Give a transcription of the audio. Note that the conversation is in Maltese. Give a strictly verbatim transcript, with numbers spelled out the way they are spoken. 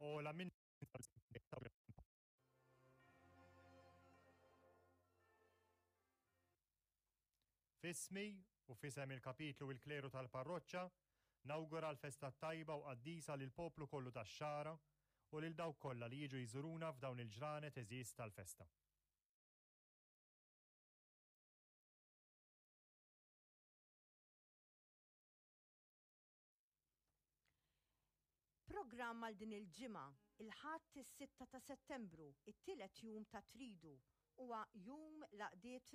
Ogħla minn F'ismi u f'isem il-Kapitlu u l-Kleru tal-Parroċċa, nawgura l-festa tajba u qaddisa lill-poplu kollu tax-Xagħra u lil dawk kollha li jiġu jżuruna f'dawn il-ġranet għeżież tal-festa. Programm għal din il-ġimgħa, il-Ħadd is-sitta ta' Settembru, it-tielet jum ta' Tridu, huwa Jum l-Għaqdiet